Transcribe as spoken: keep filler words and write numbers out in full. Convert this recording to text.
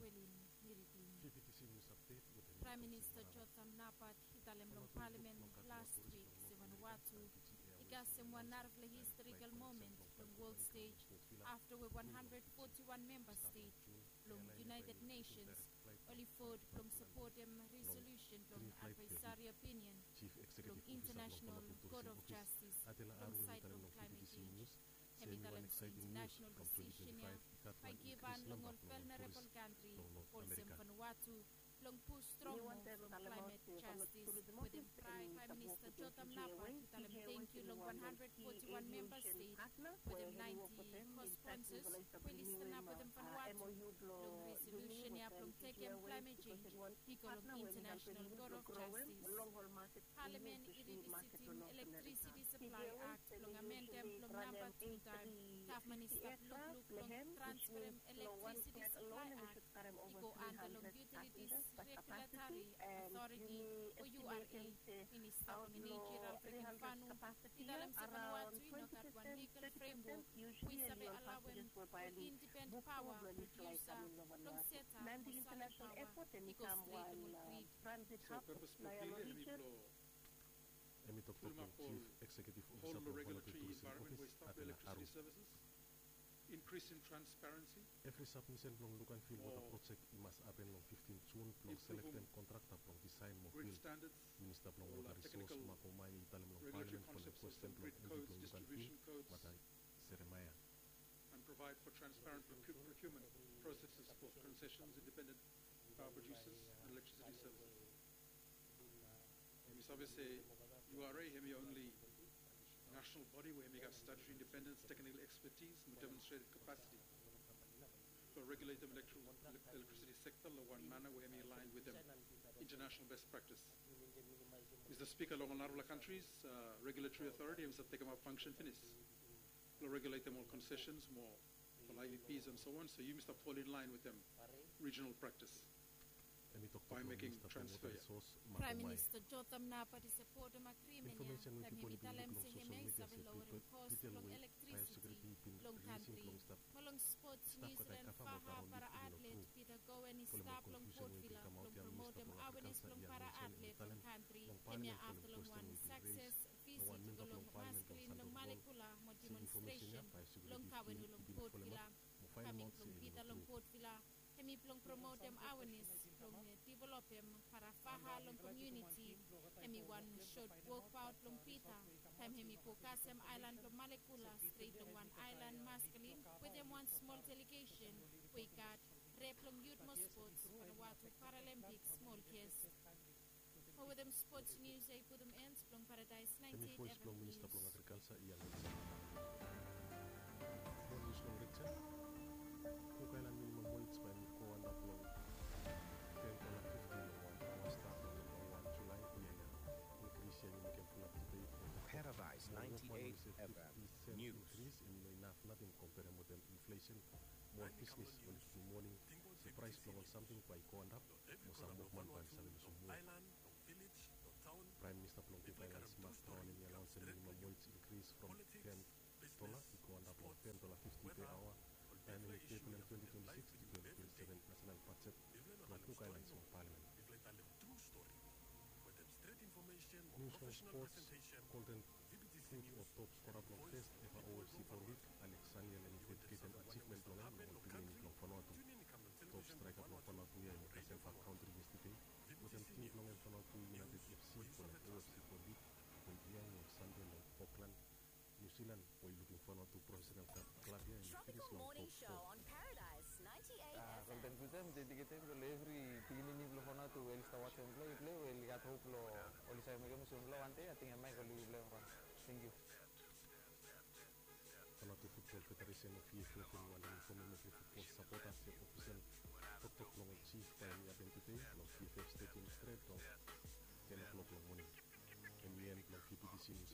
Welin Miritin. Praem Minista Jotham Napat i talem long palamen las wik se Vanuatu i kasem wan narafala historikal moment long wol stej afta we wan handred foti wan memba stet long United Nations oli vot blong sapotem resolusen blong advaesari opinion blong International Court of Justice long saed blong climate change. Hem i talem se international decision ya bae i givhan long ol vulnerable kantri olsem Vanuatu blong pus strong mo from climate justice. Wetem Praem Minista Jotham Napat i talem tangkiu long wan handred foti wan memba stet wetem naenti co-sponsors we oli stanap wetem Vanuatu long resolusen ya blong tekem climate change i go long International Court of Justice. Palamen i rivisitim Electricity Supply Act blong amendem blong namba tu taem. Gavman i stap lukluk long transferem Electricity Supply Act i go anda long Utilities Regulatory Authority o U R A. Minista blong Eneji Ralph Regenvanu i talem se Vanuatu i no gat wan legal framework we i save alawem ol indipendent paoa produsa blong setap mo salem paoa i go stret long ol grid. So purpose blong bill ya hemi blong Hemi toktok long Chief Executive Officer blong Vanuatu Tourism Office, Atela Aru. Increase in transparency. Evri sabmisen blong look and feel wota projek i mas hapen long fiftin Jun blong selektem kontrakta blong disaen mo bil. Minista blong Wota Risors Mark Homayoe i talem long Palamen folem kwesten blong Edi blong Look and Feel Mata Jeremaia. And provide for transparent procurement processes for concessions, independent power producers and electricity services. Hemi save se U R A hemi only national body we hemi gat statutory independence, technical expertise mo demonstrated capacity blong regulatem electricity sekta long wan mana we hemi align wetem international best practice. Mista Spika, long ol narafala kantris, regulatory authority hemi save tekemap fangsen finis blong regulatem ol concessions mo ol I V Ps and so on, so yumi stap fall in line wetem regional practice by making transfer ya. Praem Minista Jotham Napat i sapotem agrimen ya taem hemi talem se hemia i save lowerem kos blong elektrisiti long kantri. Mo long spots, New Zealand faha para atlet Peter Cowan i stap long Port Vila blong promotem awenes blong para atlet long kantri. Hemia afta long wan sakses visit i go long Maskelyne long Malekula mo demonstration blong kavenu long Port Vila. Kaming blong Peter long Port Vila hemi blong promotem awenes blong divelopem para faha long komuniti. Hemi wan sot wokbaot blong Peter taem hemi go kasem aelan blong Malekula stret long wan aelan Maskelyne wetem wan smol delegesen we i gat rep blong yut mo spots, Vanuatu Paralympic smol ges. Mo wetem spots nius ya i putum en blong Paradaes ninety-eight F M Nius. Hemi voes blong Minista blong Agrikalsa, Ian Wilson. Mo nius long rejin. Cook Island minimum wage bae hemi go antap long ten dola fifti long wan aoa stap long wan Julae yia ya. Inkris ya hemi mekem fulap dibet. Paradaes ninety-eight F M Nius. Inkris hemi no inaf nating komperem wetem inflesen. Mo ol bisnes oli givim woning se praes blong ol samting bae i go antap mo sam wokman bae oli save lusum wok. Praem Minista blong Cook Islands Mark Brown hemi anaonsem minimum wage inkris from ten dola i go antap long ten dola fifti per aoa bae hemi tebolem twenti twenti sikis tu twenti twenti seven nasenal bajet blong Cook Islands long Palamen. Nius long spots, Golden Boot o top skora blong fes eva O F C Pro League, Alex Saniel, hemi dediketem ajivmen blong hem long ol bigmeni blong Vanuatu. Top straeka blong Vanuatu ya hemi kasem bak kaontri yestede wetem tim blong hem Vanuatu United F C folem O F C Pro League we i biaen long Sande long Auckland, New Zealand, we i lukim Vanuatu profesenal klab ya hemi finis long top fo. Golden Boot ya mi dediketem long evri pikinini blong Vanuatu we oli stap wajem plei, plei we oli gat hop blong oli save mekem olsem blong wan dei ating hemia i go lukim blong hem. Tangkiu. Vanuatu Futbol Federesen o V F F hemi wantem fomem evri futbol sapota se ofisel toktok blong ol jif bae hemi hapen tude long V F F stediam stret long ten o'clock long moning. Hemi en blong V B T C News.